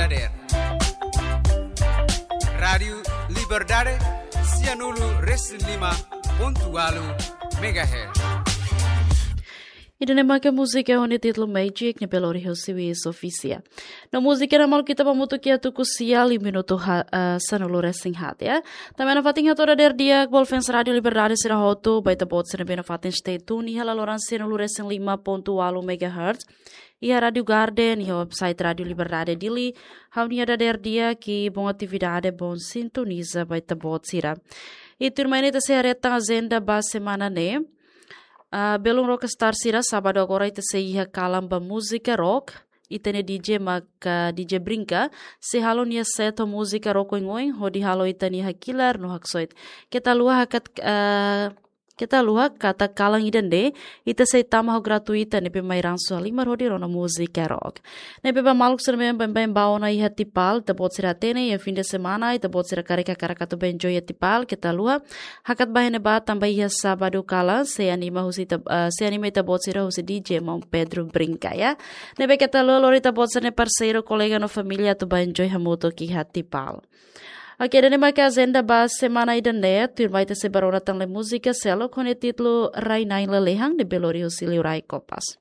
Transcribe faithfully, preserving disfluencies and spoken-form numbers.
Dader. Rádiu Liberdade, sianulu resin lima pontu ualu megahertz. Ida-ne'e maka múzika ho nia títulu Magic, ne'ebé lori husi Wiz Official. No múzika ne'e maluk ita ba hamutuk iha tuku sia liu minutu ha, eh, sanulu resin haat, ya. Tanba ne'e fatin hato'o dader di'ak ba fans Rádiu Liberdade sira hotu, ba ita-boot sira ne'ebé nafatin stay tune iha laloran sianulu resin lima pontu ualu megahertz, iha Rádiu Garden, iha website Rádiu Liberdade Dili, ha'u-nia dader di'ak i bom atividade, bom sintoniza ba ita-boot sira. I tuirmai ne'e ita sei haree tan ajenda ba semana ne'e. Ah, belun Rockstar sira, sábadu agora ita sei iha kalan ba múzika rock. Ita-nia D J maka D J Brinka, sei halo nia set ho múzika rock oin-oin, hodi halo ita-nia hakilar no haksoit. Keta haluha hakat, ah, keta haluha katak kalan ida-ne'e, ita sei tama ho gratuita ne'ebé mai ransu halimar hodi rona múzika rock. Ne'ebé ba maluk sira ne'ebé baibain ba ona iha Tipal, ita-boot sira hatene, iha fim de semana, ita-boot sira karik hakarak atu bá enjoy iha Tipal, keta haluha hakat bá iha ne'ebá tanba iha sábadu kalan, sei anima husi ita, eh, sei anima ita-boot sira husi D J maun Pedro Brinka, ya. Ne'ebé keta haluha lori ita-boot sira-nia parseiru, kolega no família atu bá enjoy hamutuk iha Tipal. Oke, ida-ne'e maka ajenda ba semana ida-ne'e, tuirmai ita sei bá rona tan lai múzika seluk ho nia títulu Rai-na'in Lalehan ne'ebé lori husi Liurai Kopas.